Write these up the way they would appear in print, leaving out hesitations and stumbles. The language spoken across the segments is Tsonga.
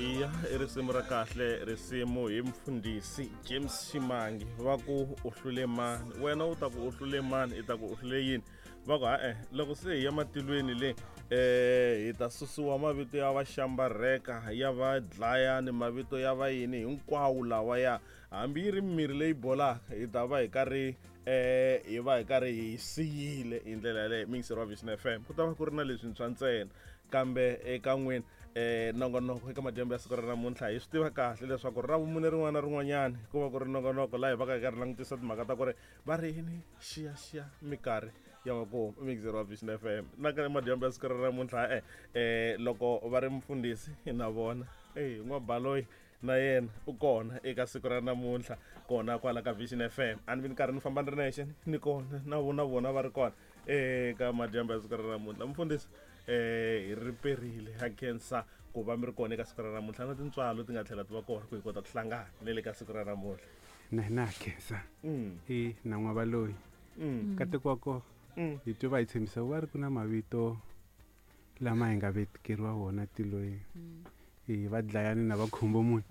Iya, i risimu ra kahle, risimu hi mfundhisi James Ximangi. Va ku u hlule mani? Wena u ta ku u hlule mani? I ta ku u hlule yini? Va ku ha-e, loko se hi ya matilweni le, hi ta susiwa mavito ya va xambarheka, ya va dlayani, mavito ya va yini hinkwawo lawa ya hambi yi ri mirhi leyi bolaka, hi ta va hi karhi hi va hi karhi hi siyile hi ndlela yaleyo. Mixer wa Vision FM, ku ta va ku ri na leswintshwa ntsena. Kambe eka n'wina nongonoko eka madyambu ya siku ra namuntlha, hi swi tiva kahle leswaku ra vumune rin'wana na rin'wanyani ku va ku ri nongonoko laha hi va ka hi karhi langutisa timhaka ta ku ri va ri yini, xiyaxiya minkarhi ya makumu. Mixer wa Vision FM, na ka madyambu ya siku ra namuntlha, loko va ri mfundhisi na vona n'wabaloyi na yena u kona eka siku ra namuntlha kona kwala ka Vision FM. A ni vi ni karhi ni famba ni ri nexe, ni kona na vona, vona va ri kona eka madyambu ya siku ra namuntlha. Mfundhisi, hi ri perile, ha khensa ku va mi ri kona eka siku ra namuntlha, na tintswalo ti nga tlhela ti va kona ku hi kota ku hlangana ne le ka siku ra namuntlha. Na hina ha khensa. E na n'wavaloyi. Nkateko wa koho, hi twe va hi tshembisa va ri ku na mavito lama hi nga vekeriwa wona tilweni. E va dlayani na va khumbo munhu,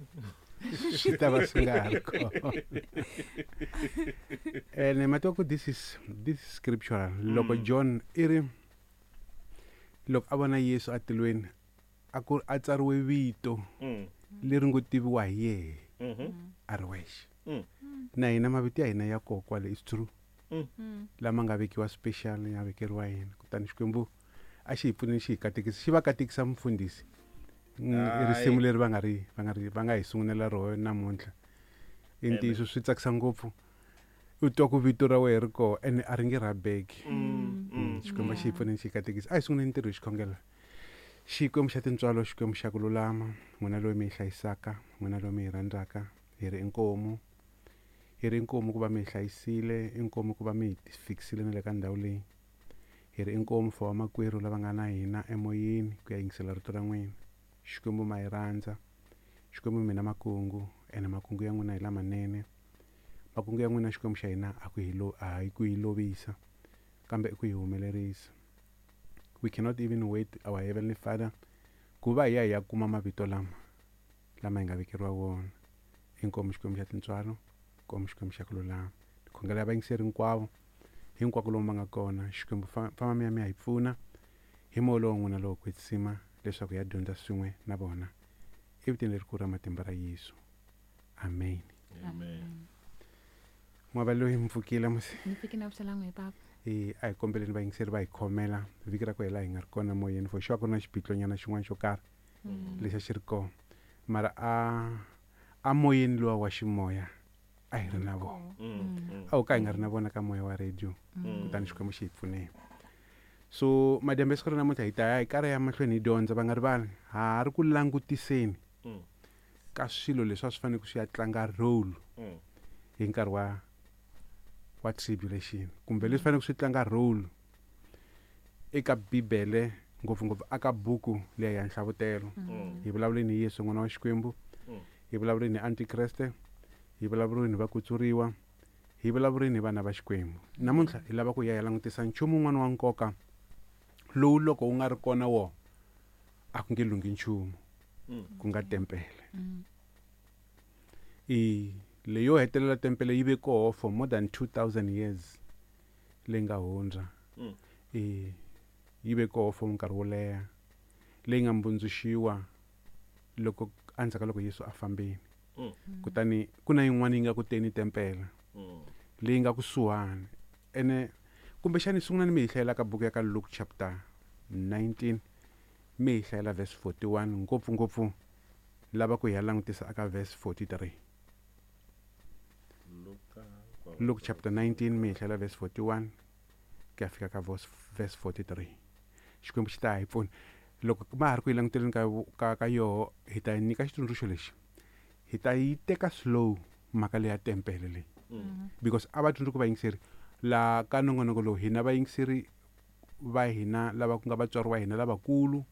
swi ta va swi nga ha ri kona. Ene ma tiva ku this is scriptural. Loko John i ri loko a vona Yesu atilweni, a ku a tsariwe vito leri ngo tiviwa hi yehe a ri wexe. Na hina mavito ya hina ya koho kwale is true, lama nga vekiwa special, ya vekeriwa hina. Kutani Xikwembu a xi hi pfuneni, xi hi katekisa, xi va katekisa mufundhisi. I risimu leri va nga ri va nga hi sungulela roho namuntlha. I ntiyiso, swi tsakisa ngopfu u twa ku vito ra wena ri koho ene a ri nge rhabeki. Xikwembu xi hi pfuneni, xi hi katekisa. A hi sunguleni ntirho hi xikhongelo. Xikwembu xa tintswalo, Xikwembu xa ku lulama, n'wina loyi mi hi hlayisaka, n'wina loyi mi hi rhandzaka, hi ri inkomu, hi ri inkomu ku va mi hi hlayisile, inkomu ku va mi hi fikisile na le ka ndhawu leyi. Hi ri inkomu for vamakwerhu lava nga na hina emoyeni ku ya yingisela rito ra n'wina. Xikwembu, ma hi rhandza. Xikwembu, mina makungu ene makungu ya n'wina hi lamanene. Makungu ya n'wina, Xikwembu xa hina, a ku hi lo a hi ku hi lovisa, kambe i ku hi humelerisa. We cannot even wait, our heavenly Father, ku va hi ya hi ya kuma mavito lama hi nga vekeriwa wona. Inkomu, Xikwembu xa tintswalo, inkomu, Xikwembu xa ku lulama. Khongela vayingiseri hinkwavo, hinkwako lomu va nga kona. Xikwembu, famba mi ya hi pfuna hi moya lowu n'wina lowo kwetsima, leswaku hi ya dyondza swin'we na vona, evitweni lerikulu ra matimba ra Yesu, amen. Amen. N'wava loyi, mi pfukile musi? Ni fike na vuxela n'we, papa. E a hi kombeleni vayingiseri va hi khomela, vhiki ra ku hela hi nga ri kona moyeni. For sure ku ri na xiphiqonyana xin'wana xo karhi lexi a xi ri kona, mara a moyeni luwa wa ximoya a hi ri na vona. A wu ka hi nga ri na vona ka moya wa radio. Kutani Xikwembu xi hi pfuneni. So madyambu ya siku ra namuntlha hi ta ya hi karhi ya mahlweni hi dyondza. Va nga rivali, ha ha ri ku langutiseni ka swilo leswi a swi fanele ku swi ya tlanga role hi nkarhi wa tribulation, kumbe leswi faneleke swi tlanga role eka Bibele, ngopfungopfu aka buku leya ya Nhlavutelo. Hi vulavuleni hi Yesu, n'wana wa Xikwembu. Hi vulavuleni hi antikreste, hi vulavuleni hi vakutsuriwa, hi vulavuleni hi vana va Xikwembu. Namuntlha hi lava ku ya hi langutisa nchumu wun'wana wa nkoka lowu loko wu nga ri kona wo a ku nge lunghi nchumu, ku nga tempele. I leyo hetelela tempele yi ve koho for more than 2000 years leyi nga hundza. I yi ve koho for nkarhi wo leha, leyi nga mbundzuxiwa loko endzhaku ka loko Yesu a fambile. Kutani ku na yin'wana yi nga ku teni tempele leyi nga kusuhani. Ene kumbexani sungulani mi hi hlayela ka buku ya ka Luke chapter 19, mi hi hlayela verse 41, ngopfungopfu lava ku hi ya langutisa aka verse 43. Luka. Luke chapter 19, mi hi hlayela verse 41 ku ya fika ka verse 43. Xikwembu xi ta hi pfuna. Loko ma ha ri ku yi languteleni ka yoho, hi ta yi nyika xitsundzuxo lexi: hi ta yi teka slow mhaka leya tempele leyi, because a va tsundzuki vayingiseri la ka nongonoko lowu. Hina vayingiseri va hina lava ku nga vatswari wa hina lavakulu.